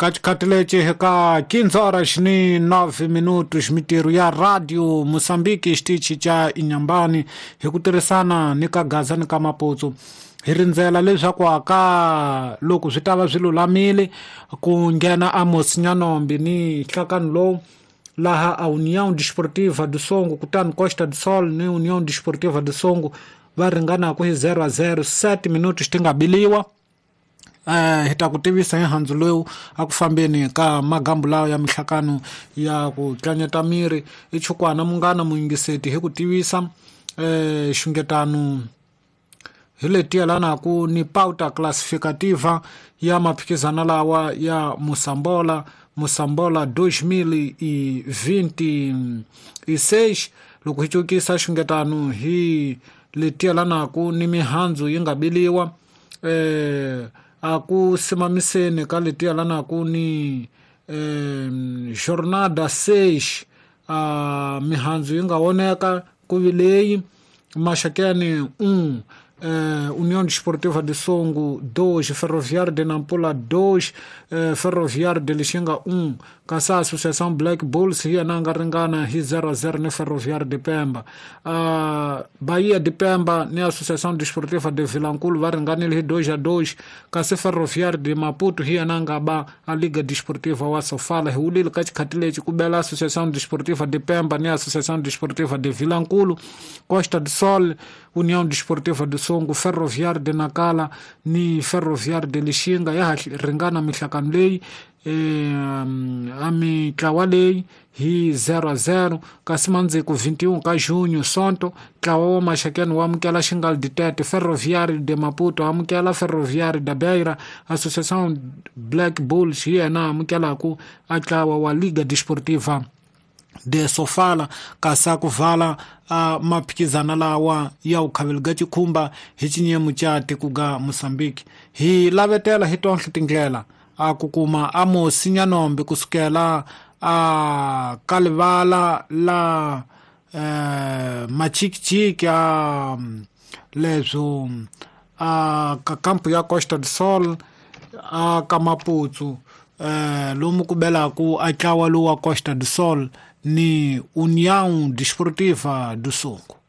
Ka xikhathi lexi hi ka 15 horas ni 9 minutos, mitirho ya Radio Mozambique xitichi xa Inhambane hi ku tirhisana ni ka Gaza ni ka Maputo hi rindzela leswaku aka loko swi ta va swi lulamile ku nghena Amos Nyanombi ni nhlakano lowu laha a União Desportiva do Songo kutani Costa do Sol ni União Desportiva do Songo va ringanaku hi 0 a 0 7 minutos ti nga biliwa. Hi ta ku tivisa hi handzu lowu a ku fambeni ka magambu lawa ya mihlakano ya ku tlanyeta miri i chukwana munghana muyingiseti hi ku tivisa xungetano hi leti yelanaku ni pauta classificativa ya maphikizano lawa ya Mosambola Mosambola 2026. Loko hi cukisa xungetano hi leti yelanaku ni mihandzu yi nga biliwa a ku simamiseni ka leti yelanaku ni jornada 6, a mihandzu yi nga voneka ku vi leyi Maxakeni 1, União Desportiva de Songo 2, Ferroviário de Nampula 2, Ferroviário de Lixinga 1, kasi Associação Black Bulls hi yena a nga ringana hi 0-0 ni Ferroviário de Pemba. Bahia de Pemba ni Associação Desportiva de Vilankulo va ringanile hi 2-2, kasi Ferroviário de Maputo hi yena a nga ba a Liga Desportiva wa Sofala. Hi wulile ka xikhathi lexi ku bela Associação Desportiva de Pemba ni Associação Desportiva de Vilankulo, Costa do Sol, União Desportiva do Songo, Ferroviário de Nacala ni Ferroviário de Lixinga ya ha ringana mihlakano leyi a mitlawa leyi hi 0-0. Kasi mandziko 21 ka junho Sonto, ntlawa wa Maxakeni wu amukela Xingal de Tete, Ferroviário de Maputo amukela Ferroviário da Beira, Associação Black Bulls hi yena amukelaku a ntlawa wa Liga Desportiva de Sofala. Kasi a ku vala a maphikizana lawa ya vukhaveli ga xikhumba hi xinyemu xa tiko ga Mozambique. Hi lavetela hi tonhle tindlela a ku kuma Amos Nyanombi kusukela a ka livala la Machikichiki a leswo a ka kampu ya Costa do Sol a ka Maputo, lomu ku belaku a ntlawa lowu wa Costa do Sol ni União Desportiva do Songo.